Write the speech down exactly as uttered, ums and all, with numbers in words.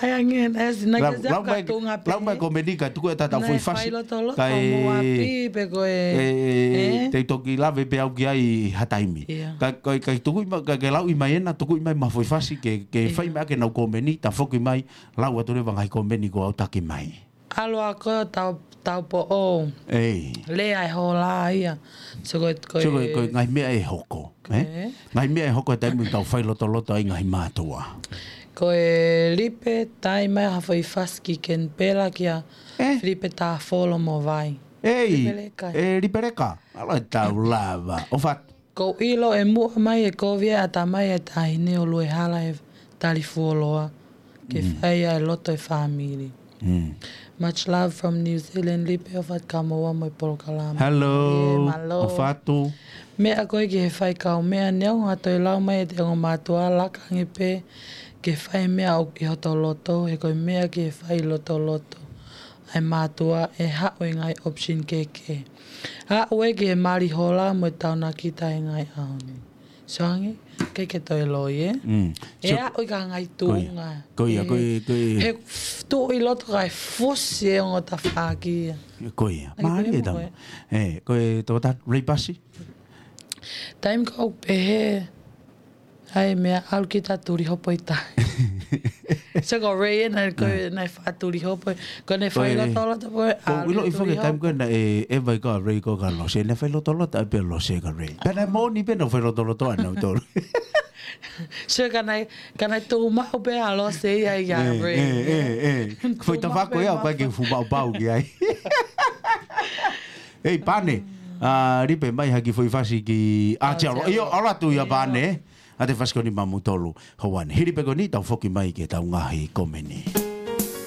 Ai ange, e si, naʻe lau, ke lau mai, katunga pē. Lau mai komeni ka tuku e tatau Naʻe foʻi fasi. Failotoloto Kae, mo api pe ko e, e, e, e, te u toki lave pē au ki ai ha taimi. Ia. Ka, ka, ka tuku mai, ka, ke lau mai ena, tuku mai ma foʻi fasi, ke, ke Ia. fai mai ke nau komeni, ta foki mai, lau atu leva ngaahi komeni ko au taki mai. ʻAlu ā ko tau, tau po o. Ei. Lea e hola ia. So ko e, ko So ko e, e ko e ngaahi meʻa ʻe hoko, ē? Ē? Ngaahi meʻa ʻe hoko e taimi tau failotoloto ai ngaahi mātuʻa. Ko e Lipe, tai mai ha foʻi fasi ki Kenipela kia Ē? Filipe Tāfolo mo Vai. Ei, Lipeleka. E Lipeleka. ʻAlu ā tau lava. ʻOfa atu. Ko u ʻilo ʻe muʻa mai e kovi e ʻatamai e taʻahine ʻo Luehala e tali fuoloa. Ke Mm. fai ʻa e loto e fāmili. Mm. Much love from New Zealand, Lipe ʻofa atu kamoua mo e polokalama. Hello. Ie, mālō. ʻOfa atu. Meʻa ko ē ki he fai kaumeʻa neongo ha toe lau mai ʻe te ongo mātuʻa laka ange pē ke fai meʻa ʻoku ʻi hoto loto, he ko e meʻa ki he fai lotoloto ʻa e mātuʻa ʻe haʻu e ngaahi option kehekehe. Aʻu ē ki he mali hola mo e taunakita e ngaahi ʻaho ni. Soangi, ke ke toe loi, ē? Mm. ʻE So, aʻu ʻi ka ngai ko ia, tuʻunga. ko ia, ko Ē, ia, ko ia. he f-, tuʻu ʻi loto kae fusi e ongo tafaʻaki ia. Ko ia. Ai, Mālie ko ia tama. mo e. Ē, ko e tō ta Ray Pasi? Taimi ko pehē, ai meʻa ʻalu ki ta tuli hopo ʻi ta. So ko Ray ena, ko Ē. naʻe faʻa tuli hopo, ko naʻe Ko e, failotoloto ko e ko ʻalu ʻilo i tuli foke taimi hopo. ko ena e, e vai ko Ray ko ka lose, naʻe failotoloto ai pē lose ka Ray. Pea naʻe moʻoni pē naʻe failotoloto ʻa nautolu. So ka naʻe, ka naʻe tuʻu maʻu pē ʻa lose ia ia Ē, Ray. ē, ē, ē. Foʻi Tuʻu maʻu tafaʻaki pē ia, maʻu. ʻoku ʻikai ke fuʻu maʻu pau ki ai. Ei, Pane, a, Lipe mai ha kiʻi foʻi fasi ki ʻAotearoa. ʻAotearoa. ʻIo, ʻalu atu ia ʻIo. Pane, ʻa e fasi ko eni maʻamoutolu, Houane. Hili pē ko eni, tau foki mai ki he tau ngaahi komeni.